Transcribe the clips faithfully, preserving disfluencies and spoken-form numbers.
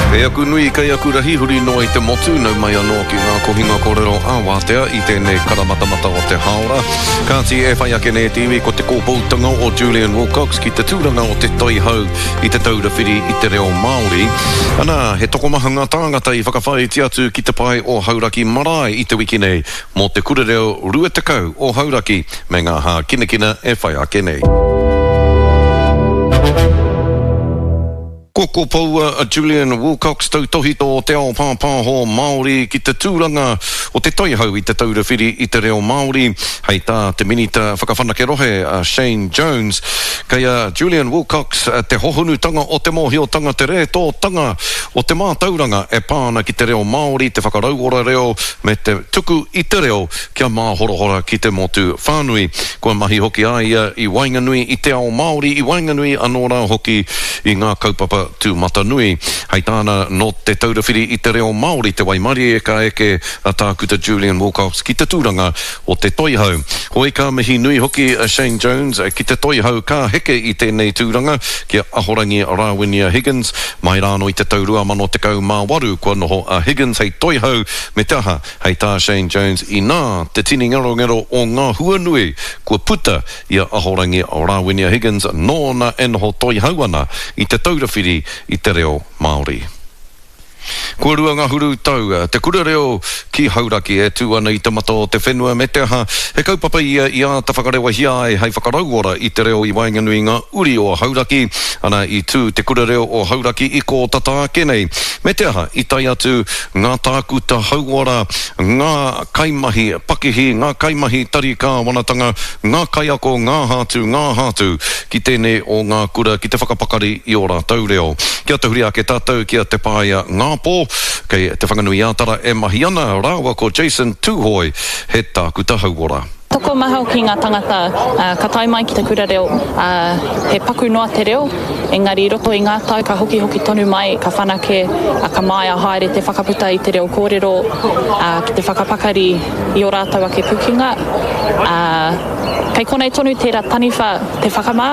Kei aku nui, kei aku rahi, huri noa i te motu, nau mai anō ki ngā kohinga kōrero ā-wātea i tēnei karamatamata o te hāora. Kāti e whai ake nei te iwi ko te kōpoutanga o Julian Wilcox ki te tūranga o te Toihau i Te Taura Whiri i te Reo Māori. Anā, he tokomaha ngā tāngata i whakawhāiti atu ki te pae o Hauraki Marae i te wiki nei mō te Kura Reo rua tekau o Hauraki me ngā hākinakina e whai ake nei. Kua kopoua a Julian Wilcox, tautōhito o te ao pāpāho Māori ki te tūranga o te Toihau i Te Taura Whiri i te Reo Māori. Hei tā te Minita Whakawhanake Rohe a Shane Jones, kei a Julian Wilcox te hohonutanga o te mōhiotanga, te rētōtanga o te mātauranga e pā ana ki te reo Māori, te whakarauora reo me te tuku i te reo kia māhorahora ki te motu whānui. Kua mahi hoki a ia i waenganui i te ao Māori, i waenganui anō rā hoki i ngā kaupapa tūmatanui. Hei tāna, nō Te Taura Whiri i te Reo Māori te waimarie ka eke a Tākuta Julian Wilcox ki te tūranga o te Toihau. Hoi ka mihi nui hoki a Shane Jones ki te Toihau ka heke i tēnei tūranga ki a Ahorangi Rāwinia Higgins. Mai rānō i te tau rua mano tekau mā waru kua noho a Higgins hei Toihau me te aha, hei tā Shane Jones inā te tini ngerongero o ngā hua nui kua puta i a Ahorangi Rāwinia Higgins nōna e noho toihau ana i Te Taura Whiri i te Reo Māori. Kua rua ngahuru tau te kura reo ki Hauraki e tū ana i te mata o te whenua me te aha, he kaupapa ia i āta whakarewahia ai hei whakarauora i te reo i waenganui i ngā uri o Hauraki, ana i tū te kura reo o Hauraki i kō tata ake nei. Me te aha, i tae atu ngā tākuta hauora, ngā kaimahi pakihi, ngā kaimahi tari kāwanatanga, ngā kaiako, ngā hātu, ngā hātu ki tēnei o ngā kura ki te whakapakari i ō rātou reo. Kia tahuri ake tātou ki a Te Paea Ngāpō, kei Te Whanganui-ā-Tara e mahi ana rāua ko Jason Tūhoe, he tākuta hauora. Tokomaha hoki ngā tangata ka tae mai ki te kura reo, ā, he paku noa te reo, engari i roto i ngā tau ka hokihoki tonu mai, ka whanake, ā, ka māia haere te whakaputa i te reo kōrero, ā, ki te whakapakari i ō rātou ake pukenga, ā, kei konei tonu tērā taniwha te whakamā,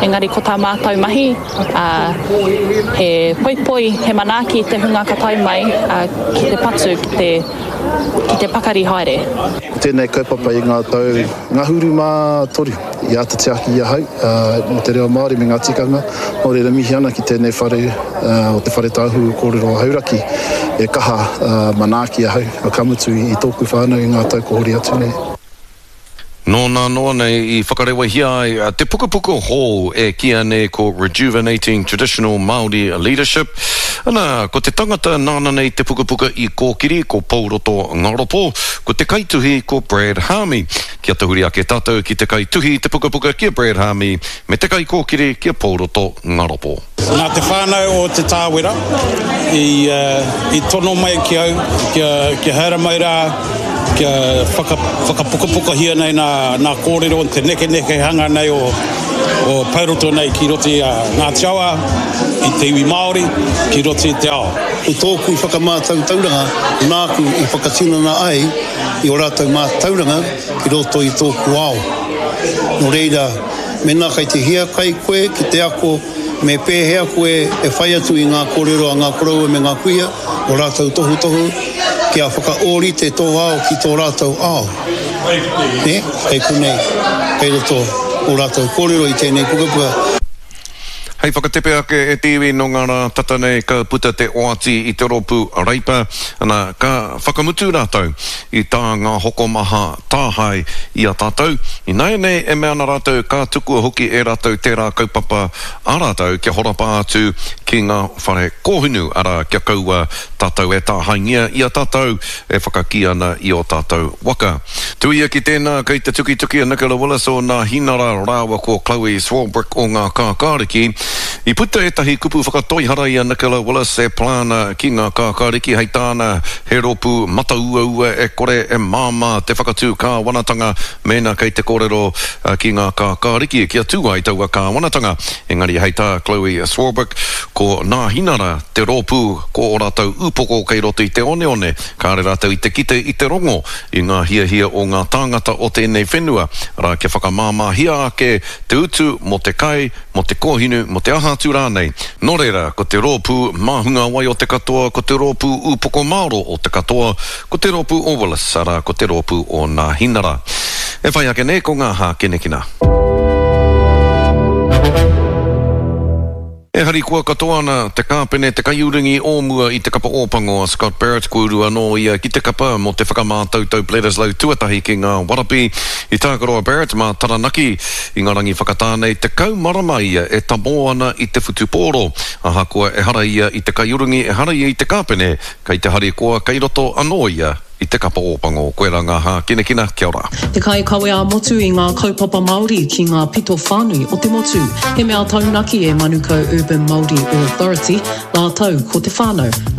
engari ko tā mātou mahi, ā, he poipoi, he manaaki i te hunga ka tae mai, ā, ki te patu, ki te, ki te pakari haere. Ko tēnei kaupapa i ngā tau ngahuru mā toru i āta tiaki i ahau mō te reo Māori me ngā tikanga, nō reira mihi ana ki tēnei whare o Te Whare Tāhuhu Kōrero o Hauraki e kaha manaaki ahau, ka mutu i tōku whānau i ngā tau kua hori atu nei. Nō nā noa nei i whakarewahia ai te pukapuka hou e kīia nei ko Rejuvenating Traditional Māori Leadership. Ana, ko te tangata nāna nei te pukapuka i kōkiri ko Pouroto Ngaropo, ko te kaituhi ko Brad Haami. Kia tahuri ake tātou ki te kaituhi i te pukapuka ki a Brad Haami me te kaikōkiri ki a Pouroto Ngaropo. Nā te whānau o Te Tāwera i tono mai ki au kia haere mai rā, kia whakapukapukahia nei nā kōrero te nekenekehanga nei o Pouroto nei ki roto i a Ngāti Awa, i te iwi Māori, ki roto i te ao. Ko tōku whakamātautauranga nāku i whakatinana ai i ō rātou mātauranga ki roto i tōku ao. Nō reira, mēnā kei te hiakai koe ki te ako me pēhea koe e whai atu i ngā kōrero a ngā koroua me ngā kuia, ō rātou tohutohu, kia whakaōrite tō ao ki tō rātou ao. Nē? Kei konei, kei roto ō rātou kōrero i tēnei pukapuka. Hei whakatepe ake e te iwi nō ngā rā tata nei ka puta te oati i te rōpū Reipa, ana, ka whakamutu rātou i tā ngā hokomaha tāhae i a tātou. Ināianei e mea ana rātou ka tukua hoki e rātou tērā kaupapa a rātou kia horapa atu ki ngā whare kōhunu, arā, kia kaua tātou e tāhaengia i a tātou e whakakī ana i ō tātou waka. Tuia ki tēnā, kei te tukituki a Nicola Willis o Nā Hinara rāua ko Chloe Swarbrick o Ngā Kākāriki. I puta ētahi kupu whakatoihara i a Nicola Willis e pā ana ki Ngā Kākāriki, hei tāna, he rōpū matauaua e kore e māmā te whakatū kāwanatanga mēnā kei te kōrero ki Ngā Kākāriki kia tū ai taua kāwanatanga. Engari hei tā Chloe Swarbrick, ko Nā Hinara te rōpū ko ō rātou upoko kei roto i te oneone, kāre rātou i te kite i te rongo i ngā hiahia o ngā tāngata o tēnei whenua, arā kia whakamāmāhia ake te utu mō te kai, mō te kōhinu, mō te aha atu rānei. Nō reira, ko te rōpū māhungawai o te katoa, ko te rōpū ūpoko māro o te katoa, ko te rōpū o Willis, arā, ko te rōpū o Nāhinara. E whai ake nei ko ngā hākinakina. E harikoa katoa ana te kāpene, te kaiurungi o mua i te kapa Ōpango a Scott Barrett, kua uru anō ia ki te kapa mō te whakamātautau Bledisloe tuatahi ki ngā Warapi. I tākaro a Barrett mā Taranaki i ngā rangi whakatā nei, tekau marama ia e tamō ana i te whutupōro. Ahakoa ehara ia i te kaiurungi, ehara ia i te kāpene, kei te harikoa kei roto anō ia i te kapa Ōpango. Koirā ngā hākinakina, kia ora. Te kaikawe ā-motu i ngā kaupapa Māori ki ngā pito whānui o te motu. He mea taunaki e Manukau Urban Māori Authority, rātou ko te whānau.